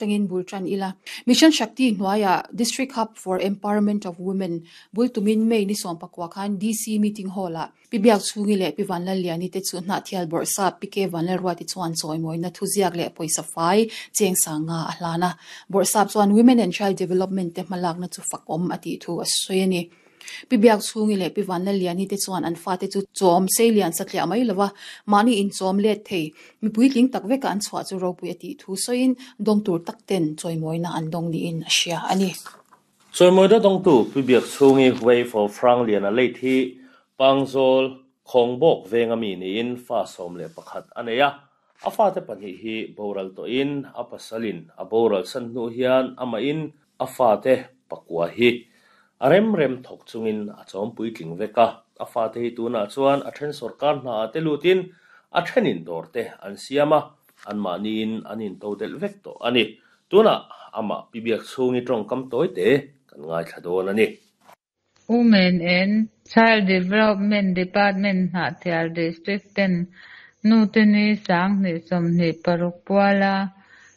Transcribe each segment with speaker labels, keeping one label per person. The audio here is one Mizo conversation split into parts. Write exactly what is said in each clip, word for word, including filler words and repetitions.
Speaker 1: Tangin bultran ila. Mission Shakti hnuaiah District Hub for Empowerment of Women bultumin May ni sawm pakua khan D C Meeting Hall-ah Pi Biakchhungi leh Pi Vanlalliani te chu Hnahthial Bawrhsap Pi K Vanlalruati chuan chawimawina thuziak leh pawisa fai cheng sanga a hlan a. Bawrhsap chuan Women and Child Development te hmalakna chu fakawm a tih thu a sawi a ni. Pi Biakchhungi leh Pi Vanlalliani te chuan an fate chu chawm seilian satliah mai lova mahni inchawm let thei mipui tling tak veka an chhuah chu ropui a tih thu sawiin dawng tur tak ten chawimawina an dawng niin a hria a ni.
Speaker 2: Chawimawina dawngtu Pi Biakchhungi wife of Hrangliana late hi Pangzawl Khawngbawk venga mi niin fa sawm leh pakhat a nei a. A fate pahnih hi boral tawhin a pasalin a boral san hnu hian ama in a fate pakua hi a rem rem thawk chungin a chawm puitling vek a. A fate hi tunah chuan a then sarkar hna a te lutin a thenin dawr te an siam a, an mahniin an intodelh vek tawh a ni. Tunah ama Pi Biakchhungi tawngkam tawi te kan ngaithla dawn a ni.
Speaker 3: Women and Child Development Department Hnahthial District ten nu te ni sanghnih sawmhnih paruk puala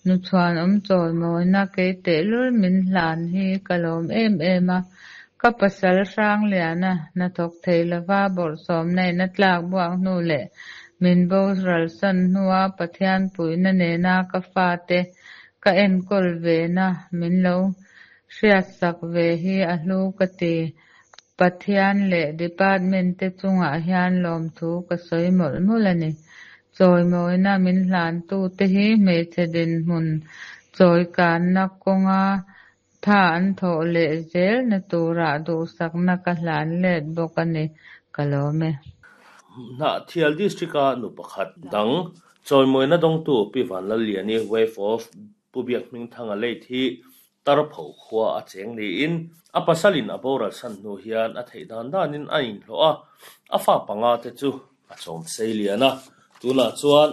Speaker 3: nu chhuan awm chawimawina kei tehlul min hlan hi ka lawm em em a. Ka pasal Hrangliana hnathawk thei lova bawrhsawmna in a tlak buak hnu leh min boral san hnua Pathian puihna nena ka fate ka enkawl ve na min lo hriatsak ve hi a hlu ka ti. Pathian leh department te chungah hian lawmthu ka sawi mawlh mawlh a ni. Chawimawina min hlan tu te hi hmeichhe dinhmun chawikanna kawnga tha an thawh leh zel na turah duhsakna ka hlan let bawk a ni. Ka lawm e.
Speaker 2: Hnahthial District-a nu pakhat dang chawimawina dawngtu Pi Vanlalliani wife of Pu Biakhmingthanga late hi Tarpho khua a cheng niin a pasalin a boral san hnu hian a theih dan danin a inhlawh a. A fa panga te chu a chawm seilian a. Tunah chuan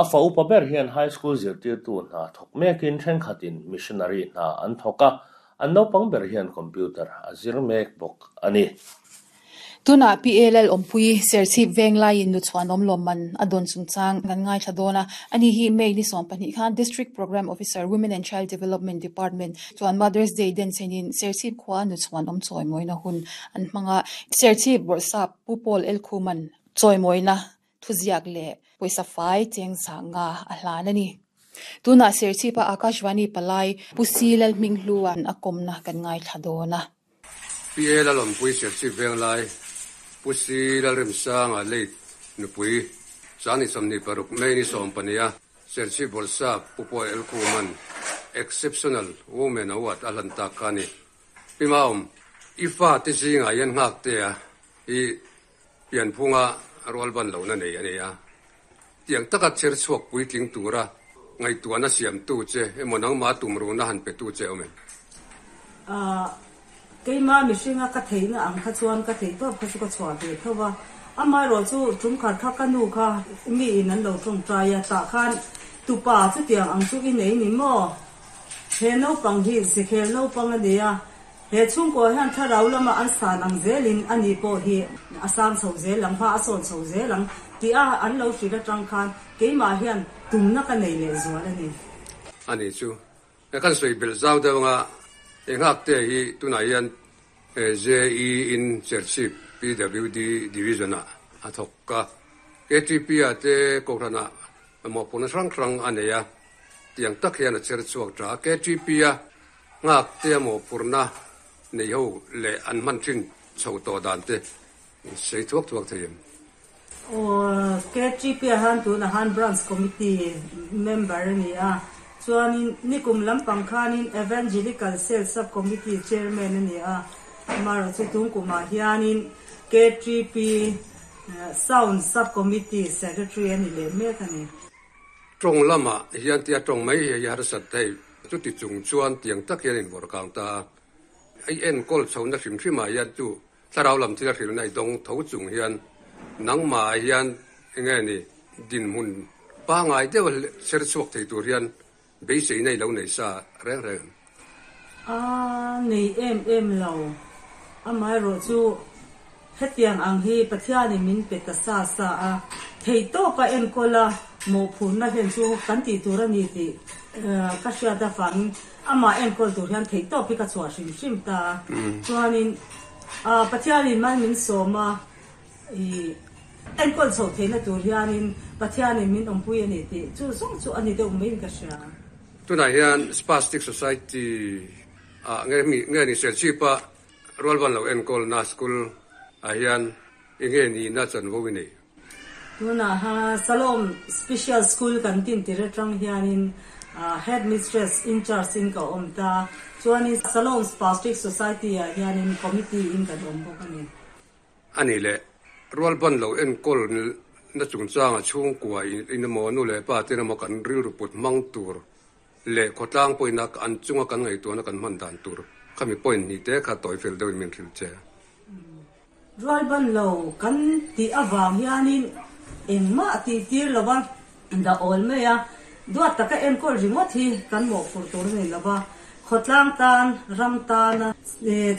Speaker 2: a fa upa ber hian high school zirtirtu hna thawk mekin thenkhatin missionary hna an thawk a. An naupang ber hian computer a zir mek bawk a ni.
Speaker 1: Tunah Pi L L Awmpui Serchhip Venglaiin nu chhuanawm lawmman a dawn chungchang kan ngaithla dawn a. Ani hi May ni sawm pahnih khan District Program Officer, Women and Child Development Department chuan Mother's Day den chenin Serchhip khua nu chhuanawm chawimawina hun an hmanga. Serchhip Bawrhsap Pu Paul L Khuman chawimawina thuziak leh pawisa fai cheng sanga a hlan a ni. Tunah Serchhipa Akashvani Palai Pu C Lalhminghluan a kawmna kan ngaithla dawn a.
Speaker 4: Pi L Awmpui Serchhip Venglai Pu C Lalremsanga late nupui sanghnih sawmhnih paruk May ni sawm pahnih a Serchhip Bawrhsap Pu Paul L Khuman Exceptional Women Award a hlan tak kha ni. Pi Maum, i fa te zinga hian nghak te a i pianphunga rual ban lo na nei a ni a. Tiang taka cher chhuak puitling tura ngaihtuahna siam tu che emaw nangma tum ru na han pe tu che awm em?
Speaker 5: A keima mihringa ka theihna ang kha chuan ka theih tawp kha chu ka chhuah ve tho a. Amaherawh chu tum khat kha ka nu kha mi in an lo tawngtai a, tah khan tupa chu tiang ang chu i nei ni maw, he naupang hi zekhel naupang a ni a, he chhungkaw hian thlarau lama an san ang zelin ani pawh hi a sang chho zel ang, hma a sawn chho zel ang tih a an lo hrilh atang khan keimah hian tumna ka nei leh zual a ni.
Speaker 4: Ani chu kan sawi bel zau deuh anga e nghak te hi tunah hian J E in Serchhip P W D Division a a thawk ka. K T P a te kohrana mawhpawrhna hrang hrang a nei a. Tiang tak hian a cher chhuak tha. K T P a nghak te a mawhphurhna nei ho leh an hman thin chho tawh dan te sei thuak thuak thei em?
Speaker 5: Aw, K T P a han tuna han branch committee member ani a. Chuanin nikum lampang khanin Evangelical Cell Sub Committee chairman ani a. Amaherawh chu tum kumah hianin K T P Sound Sub Committee secretary ani leh mek ani.
Speaker 4: Tawng lama hian tia tawng mai hi har sat thei chu ti chung chuan tiang tak hian in vor kang ta ai enkawl chho na hrim hrim ah hian chu thlarau lam thil a hril na i dawng tho chung hian nangmah hian enge ni dinhmun pangai deuh ser chhuak thei tur hian beisei nei lo nei sa reng reng?
Speaker 5: A nei em em lo. Amaherawh chu hetiang ang hi Pathianin min pe ta sa sa a, thei tawpa enkawl a. Mo phun na hen chu kan ti tur ani ti ka hria ta fang ama en kol tur hian thei to pi ka chua hrim hrim ta chuanin a Pathianin man min soma i en kol chho thei na tur hianin Pathianin min ompui ani ti chu zong chu ani deuh mai ka hria.
Speaker 4: Tuna hian Spastic Society a nge mi nge ni sel chi pa rualban lo en kol na school a hian nge ni na chan vo ni.
Speaker 5: Tuna ha Salom Special School kan tin tire tang hianin head mistress in charge in ka om ta chuanin Salom Spastic Society a hianin committee in kan om bawk ani.
Speaker 4: Ani le rualban lo en kol na chung changa chung kwa in mo nu le pa te na mo kan ril ru put mang tur le khotlang poina an chunga kan ngai tu na kan man dan tur khami point ni te kha toy fel deuh min thil che.
Speaker 5: Rualban lo kan ti awang hianin engma ti tir lawa da ol me ya duat taka en kol ringot hi kan mo fur tur nei lawa khotlang tan ram tan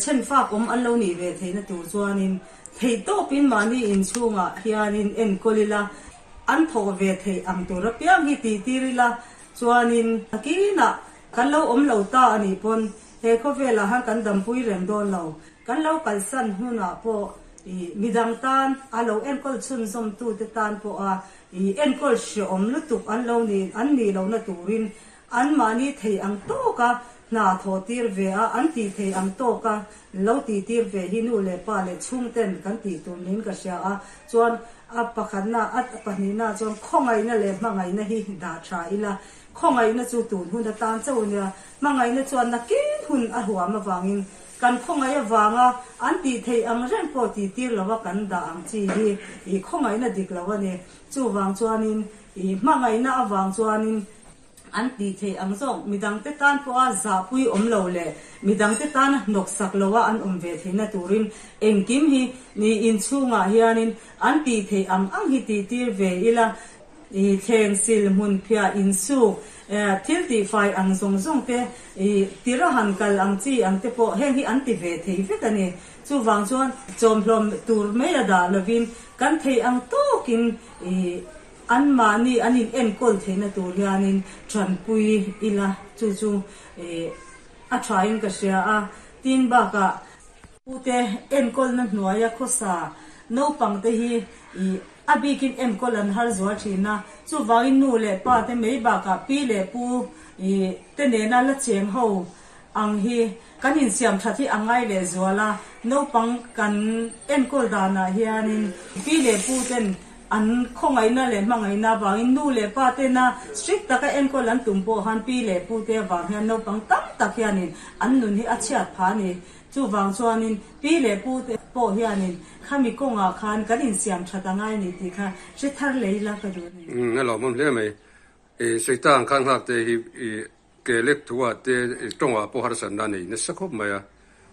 Speaker 5: chen fa kom an lo ni ve theina tur chuanin thei to pin mani in chunga hianin en kolila an tho ve thei ang tur piang hi ti tirila chuanin akina kan lo om lo ta ani pon he kho vela han kan dam pui reng don lo kan lo kalsan huna po i midang tan alo en kol chun zom tu te tan po a i en kol shi om lutuk an lo ni an ni lo na turin an mani thei ang to ka na tho tir ve a an ti thei ang to ka lo ti tir ve hi nu le pa le chung ten kan ti tur nin ka sha a chuan a pakhat na at pahni na chuan khongai na le mangai na hi da tha ila khongai na chu tun hun ta tan chau nia mangai na chuan na kin hun a huam awangin kan khongai awanga an ti thei ang ren po ti tir lawa kan da ang chi hi i khongai na dik lawa ne chu wang chuanin i mangai na awang chuanin an ti thei ang zong midang te tan po a za pui om lo le midang te tan nok sak lowa an om ve theina turin engkim hi ni in chunga hianin an ti thei ang ang hi ti tir ve ila i thleng sil mun phia in su thil ti fai ang zong zong te i tira han kal ang chi ang te po heng hi an ti ve thei vek ani chu wang chuan chom hlom tur me da lovin kan thei ang tokin i an mani anin en kol theina tur hianin than pui ila chu chu e a thain ka sia a tin ba ka ute en kol na hnuaia khosa no pang te hi i abikin en kol an har zuwa thina chu wangin nu le pa te mei ba ka pi le pu i te ne na la cheng ho ang hi kanin siam thathi angai le zuala no pang kan en kol dana hianin pi le pu ten an khongai na le mangai na wangin nu le pa te na strict taka en kol an tumpo han pi le pu te wang hian no pang tam tak hianin an nun hi a chiat pha ni chu wang chuanin pi le pu te po hianin khami konga khan kan in siam thatangai ni ti kha se thar leila ka du ni.
Speaker 4: Um na lo mom le mai e seitang khan hak te hi ke lek thuwa te tonga po har san na nei na sakhop maya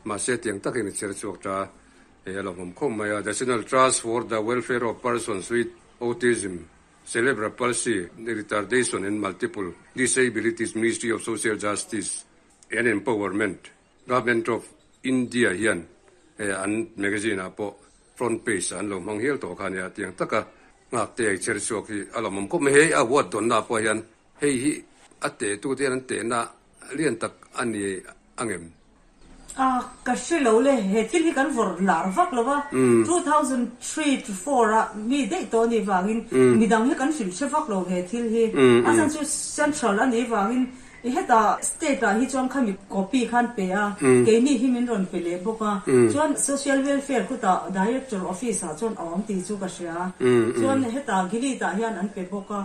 Speaker 4: ma se tiang takin cher chuak ta e lo mom khom maya. National Trust for the Welfare of Persons with Autism, Cerebral Palsy, Retardation and Multiple Disabilities, Ministry of Social Justice and Empowerment, Government of India hian e an magazine a po front page an lo mang hel to khan ya tiang taka ngak te cher chuak hi alo mom khom he a wat don na po hian hei hi ate tu te an te na lian tak ani angem
Speaker 5: a ka shilo le he thil hi kan vor lar vak lova two thousand three to four a mi dei to ni wangin midang hi kan sil che vak lo he thil hi a san chu central ani wangin heta state a hi chuan khami copy khan pe a ke ni hi min ron pe le boka chuan social welfare khuta director office a chuan awm ti chu ka sia chuan heta gili ta hian an pe boka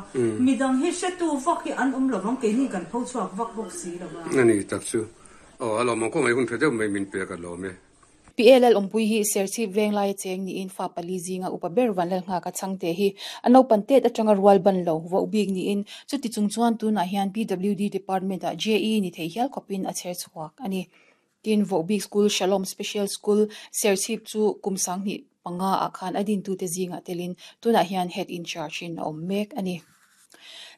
Speaker 5: midang hi se tu vak hi an um lovang ke ni kan pho chuak vak bok si lova
Speaker 4: ani tak chu o alo mong ko mai hun phedeu mai min pe ka lo me.
Speaker 1: P L L ompui hi serchip venglai cheng ni in fa pali zinga upa ber van lal nga ka changte hi ano pantet atanga rual ban lo wa ubik ni in chuti chung chuan tuna hian P W D department a J E ni thei hial kopin a cher chuak ani tin vo big school Shalom Special School serchip chu kumsang ni panga akhan adin tu te zinga telin tuna hian head in charge in om mek ani.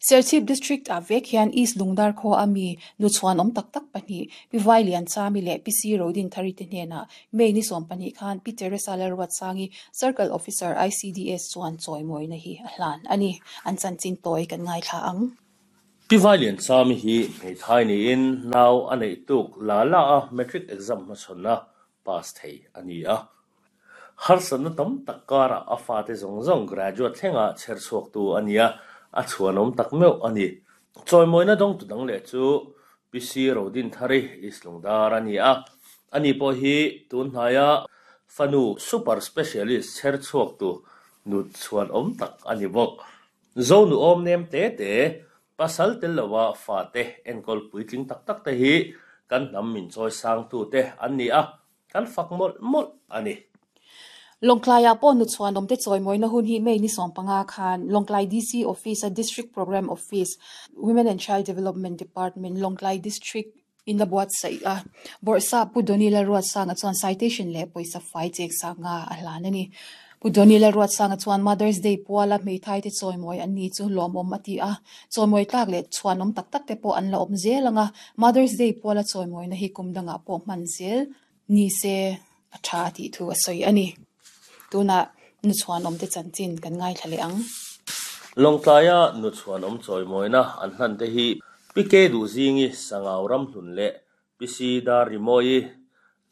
Speaker 1: Serchhip District ah vek hian East Lungdar khaw ami nu chhuan awm tak tak pahnih Pi Vai Lian Chami leh Pi Si Rodin Thari te hnenah May ni sawm pahnih khan Pi Teresa Lalruatsangi Circle Officer I C D S chuan chawimawina hi a hlan ani. An chanchin tawi kan ngaithla ang.
Speaker 2: Pi Vai Lian Chami hi hmeithai niin nau a neih tuk la la a matric exam hmachhawn a pass thei ani a. Harsatna tam tak karah a fate zawng zawng graduate thlenga chher chhuak tu ani a, a chhuanawm tak meuh ani. Chawimawina dawng tu dang leh chu Pi Si Rodin Thari East Lungdar ani a. Ani pawh hi tun hnaia fanu super specialist chher chhuak tu nu chhuanawm tak ani bawk. Zo nu awm nem te te pasal tel lova fate enkawl puitling tak tak te hi kan hnam min chawi sang tu te an ni a, kan fak mawlh mawlh ani.
Speaker 1: Lawngtlaiah pawh nu chhuanawm te chawimawina hun hi May ni sawm panga khan Lawngtlai D C Office a District Programme Office, Women and Child Development Department, Lawngtlai District in a buatsaih a. Bawrhsap Pu Donny Lalruatsanga chuan citation leh pawisa fai cheng sanga a hlan ani. Pu Donny Lalruatsanga chuan Mother's Day puala hmeithai te chawimawi an ni chu lawmawm a ti a. Chawimawi tlak leh chhuanawm tak tak te pawh an la awm zel anga Mother's Day puala chawimawina hi kum dangah pawh hman zel ni se a tha tih thu a sawi ani. Tuna nu chhuanawm te chanchin kan ngaithla leh ang.
Speaker 2: Lawngtlaia nu chhuanawm chawimawina an hlan te hi Pi Ke Duhzingi Sangau ram hlun leh Pi Si Dar Rimawi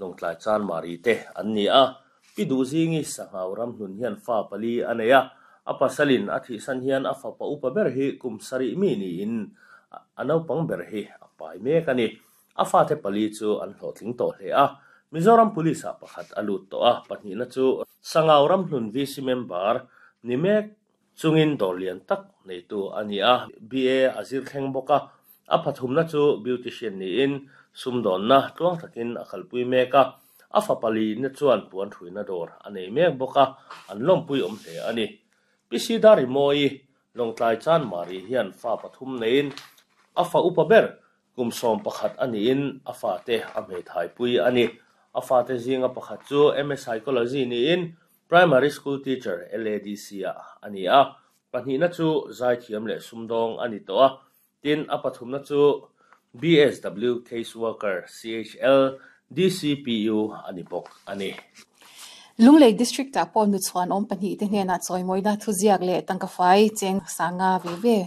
Speaker 2: Lawngtlai Chan Mari te an ni a. Pi Duhzingi Sangau ram hlun hian fa pali a nei a. A pasalin a thihsan hian a fapa upa ber hi kum sarih mi niin a naupang ber hi a pai mek ani. A fate pali chu an hlawhtling tawh hle a. Mizoram Police ah pakhat a lut tawh a, pahnihna chu Sangau ram hlun V C member ni mek chungin dawr lian tak neitu ani a, B A a zir thleng bawk a. A pathumna chu beautician niin sumdawnna tluang takin a kalpui mek a. A fa pali na chuan puan thuina dawr a nei mek bawk a, an lawmpui awm hle ani. Pi Si Dar Rimawi Lawngtlai Chan Mari hian fa pathum neiin a fa upa ber kum sawm pakhat aniin a fate a hmeithai pui ani. A fate zinga pakhat chu M A Psychology niin primary school teacher L A D C ah ani a. Pahnihna chu zaithiam leh sumdawng ani tawh a. Tin, a pathumna chu B S W case worker C H L D C P U ani bawk ani.
Speaker 1: Lunglei District ah pawh nu chhuanawm pahnih te hnenah chawimawina thuziak leh tangka fai cheng sanga ve ve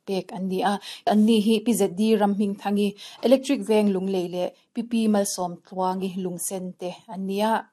Speaker 1: pek an ni a. An ni hi Pi Z D Ramhming Thangi Electric Veng Lunglei leh Pi Pi Malsawm Tluangi Lungsen te an ni a.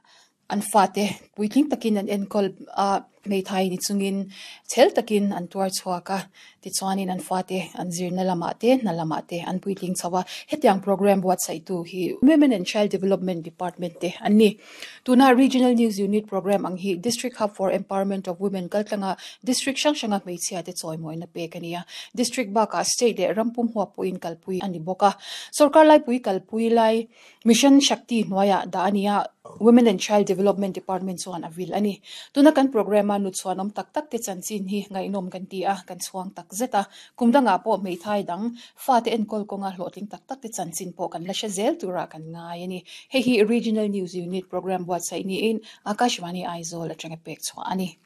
Speaker 1: An fate puitling takin an enkawl a, hmeithai ni chungin chhel takin an tuar chhuak a. Tichuanin an fate an zirna lamah te hna lamah te an puitling chho a. Hetiang program buatsaih tu hi Women and Child Development Department te an ni. Tuna Regional News Unit program ang hi District Hub for Empowerment of Women kaltlanga district hrang hranga hmeichhia te chawimawina pek ani a. District bakah state leh rampum huap pawhin kalpui ani bawk a. Sarkar laipui kalpui lai Mission Shakti hnuaiah dah ani a. Women and Child Development Department chuan a vil ani. Tuna kan program a nu chhuanawm tak tak te chanchin hi ngaihnawm kan ti a, kan chhuang tak zet a. Kum dangah pawh hmeithai dang fate enkawl kawnga hlawhtling tak tak te chanchin pawh kan la hre zel turah kan ngai ani. Hei hi Regional News Unit program buatsaih niin Akashvani Aizawl atanga pek chhuah ani.